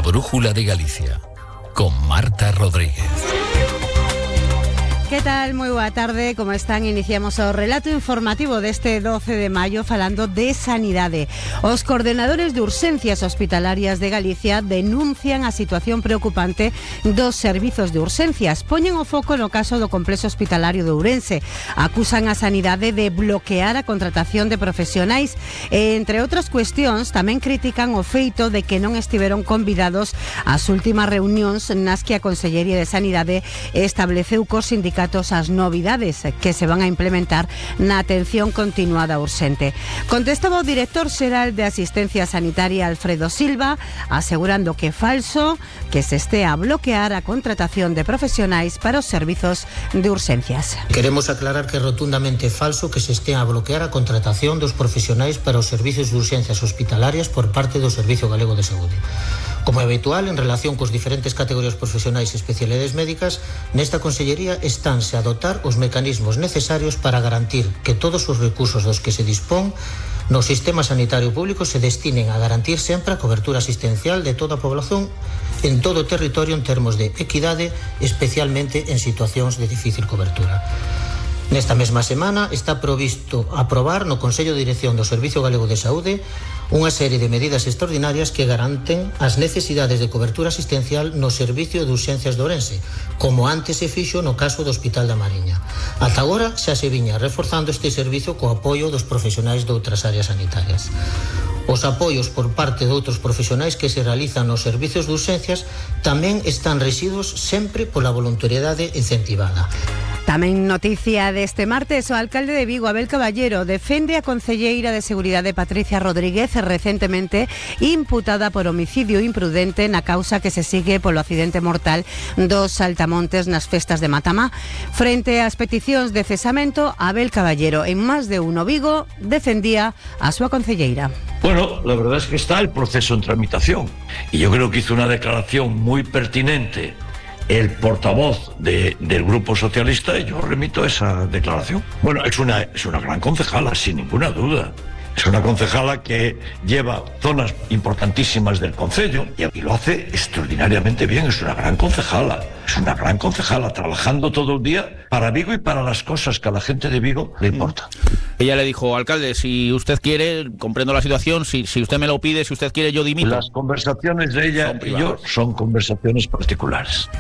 La Brújula de Galicia, con Marta Rodríguez. Que tal? Moi boa tarde, como están? Iniciamos o relato informativo deste 12 de maio falando de sanidade. Os coordenadores de urxencias hospitalarias de Galicia denuncian a situación preocupante dos servizos de urxencias. Poñen o foco no caso do complexo hospitalario de Ourense. Acusan a sanidade de bloquear a contratación de profesionais e, entre outras cuestións, tamén critican o feito de que non estiveron convidados ás últimas reunións nas que a Consellería de Sanidade estableceu cos sindicatos as novidades que se van a implementar na atención continuada urxente. Contestaba o director xeral de Asistencia Sanitaria, Alfredo Silva, asegurando que é falso que se estea a bloquear a contratación de profesionais para os servizos de urxencias. Queremos aclarar que é rotundamente falso que se estea a bloquear a contratación dos profesionais para os servizos de urxencias hospitalarias por parte do Servizo Galego de Saúde. Como é habitual, en relación cos diferentes categorías profesionais e especialidades médicas, nesta Consellería estánse a dotar os mecanismos necesarios para garantir que todos os recursos dos que se dispón no sistema sanitario público se destinen a garantir sempre a cobertura asistencial de toda a población en todo o territorio en termos de equidade, especialmente en situacións de difícil cobertura. Nesta mesma semana está provisto aprobar no Consello de Dirección do Servizo Galego de Saúde unha serie de medidas extraordinarias que garanten as necesidades de cobertura asistencial no Servicio de Urxencias de Ourense, como antes se fixo no caso do Hospital da Mariña. Ata agora xa se viña reforzando este servizo co apoio dos profesionais de outras áreas sanitarias. Os apoios por parte de outros profesionais que se realizan nos servizos de urxencias tamén están rexidos sempre pola voluntariedade incentivada. Tamén noticia deste martes, o alcalde de Vigo, Abel Caballero, defende a concelleira de Seguridade Patricia Rodríguez, recentemente imputada por homicidio imprudente na causa que se sigue polo accidente mortal dos saltamontes nas festas de Matamá. Frente ás peticións de cesamento, Abel Caballero, en máis de uno Vigo, defendía a súa concelleira. Bueno, la verdad es que está el proceso en tramitación y yo creo que hizo una declaración muy pertinente el portavoz del Grupo Socialista y yo remito esa declaración. Bueno, es una gran concejala, sin ninguna duda. Es una concejala que lleva zonas importantísimas del concello y lo hace extraordinariamente bien. Es una gran concejala. Es una gran concejala trabajando todo el día para Vigo y para las cosas que a la gente de Vigo le importan. Ella le dijo, alcalde, si usted quiere, comprendo la situación, si usted me lo pide, si usted quiere, yo dimito. Las conversaciones de ella y yo son conversaciones particulares.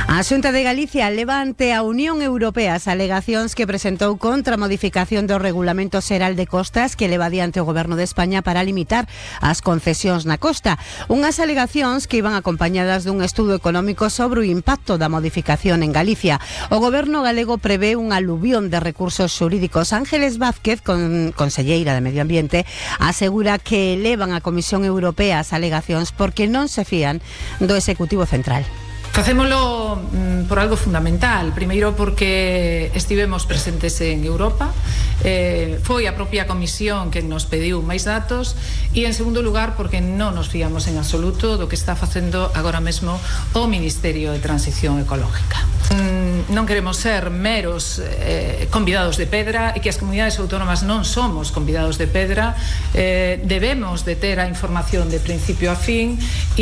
A Xunta de Galicia leva ante a Unión Europea as alegacións que presentou contra a modificación do Regulamento Xeral de Costas que leva adiante o Goberno de España para limitar as concesións na costa. Unhas alegacións que iban acompañadas dun estudo económico sobre o impacto da modificación en Galicia. O Goberno galego prevé un aluvión de recursos xurídicos. Ángeles Vázquez, conselleira de Medio Ambiente, asegura que elevan a Comisión Europea as alegacións porque non se fían do Executivo Central. Facémolo por algo fundamental. Primeiro porque estivemos presentes en Europa, foi a propia Comisión que nos pediu máis datos, e en segundo lugar porque non nos fiamos en absoluto do que está facendo agora mesmo o Ministerio de Transición Ecológica. Non queremos ser meros convidados de pedra, e que as comunidades autónomas non somos convidados de pedra. Debemos de ter a información de principio a fin e